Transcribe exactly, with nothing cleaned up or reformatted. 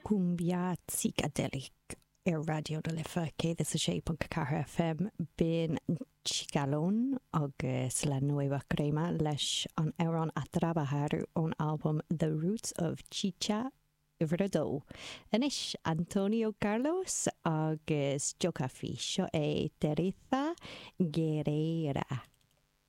Cumbia Psychedelic ar Raidió na Life céad is a sé ponc ceathair FM b'in Chicalón agus La Nueva Crema leis an amhrán A Trabajar ón albam The Roots of Chicha uimhir a dó. Anois Antonio Carlos agus Jocafi seo é Teresa Guerrera.